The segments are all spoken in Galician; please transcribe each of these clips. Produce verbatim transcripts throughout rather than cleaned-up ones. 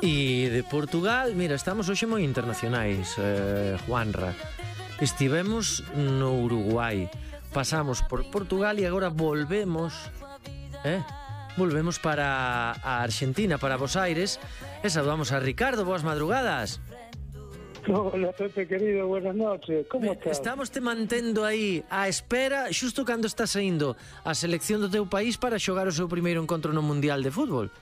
E de Portugal, mira, estamos hoxe moi internacionais, eh, Juanra. Estivemos no Uruguai, pasamos por Portugal e agora volvemos, eh? Volvemos para a Argentina, para Buenos Aires, e saludamos a Ricardo. Boas madrugadas. Hola, Pepe, querido, buenas noches. ¿Cómo estás? Estamos te mantendo aí á espera, xusto cando está saindo a selección do teu país para xogar o seu primeiro encontro no Mundial de Fútbol.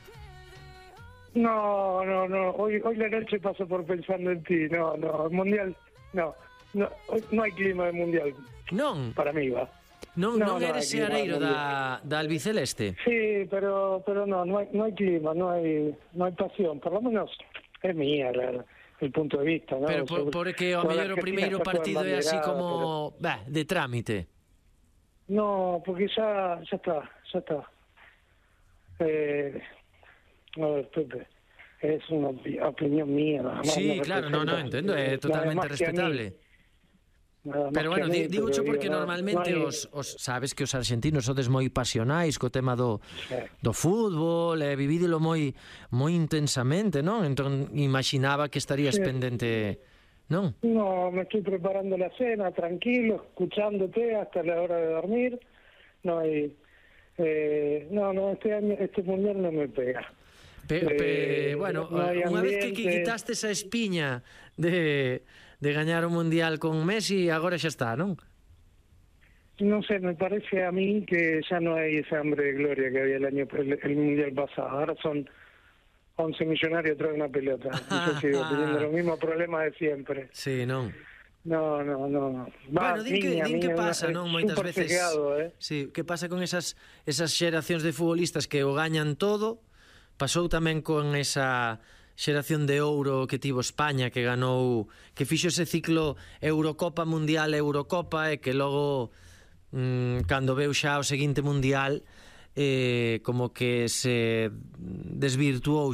No, no, no. Hoy, hoy la noche paso por pensando en ti. No, no. El mundial, no. No, hoy no hay clima de mundial. Non. Para mí, va. Non, no, non no eres hay clima seareiro mundial. da, da albiceleste. Sí, pero, pero no, no hay, no hay clima, no hay, no hay pasión. Por lo menos es mía la, el punto de vista, ¿no? Pero por, porque ao Toda mellor o Argentina primeiro está toda partido é así embanderada, como, pero... bah, de trámite. No, porque ya, ya está, ya está. Eh, a ver, Pepe, es una opi- opinión mía. Nada más, Sí, no claro, no, no, entiendo, é Nada totalmente más que a mí. respetable. Nada más Pero que bueno, a mí, di- digo pero cho porque digo, no, normalmente no hay- os, os sabes que os argentinos sodes moi pasionais co tema do, Sí. do fútbol, e vivídelo moi moi intensamente, non? Entón imaginaba que estarías Sí. pendente, non? No, me estoy preparando la cena, tranquilo, escuchándote hasta la hora de dormir. No hay... Eh, no, no, este año, este mundial no me pega. Pe, pe, Eh, bueno, no hay unha vez que, que ambiente. quitaste esa espiña de, de gañar o Mundial con Messi, agora xa está, non? No sé, me parece a mí que ya no hay esa hambre de gloria que había el año el, el mundial pasado. Ahora son once millonarios atrás de una pelota. Y yo sigo teniendo los mismos problemas de siempre. Sí, non? No, no, no. Va, Bueno, din que, niña, din que niña, pasa, es non? Moitas súper veces chequeado, ¿eh? sí, que pasa con esas esas xeracións de futbolistas que o gañan todo. Pasou tamén con esa xeración de ouro que tivo España, que ganou, que fixo ese ciclo Eurocopa, Mundial, Eurocopa, e que logo mmm, cando veu xa o seguinte Mundial, eh, como que se desvirtuou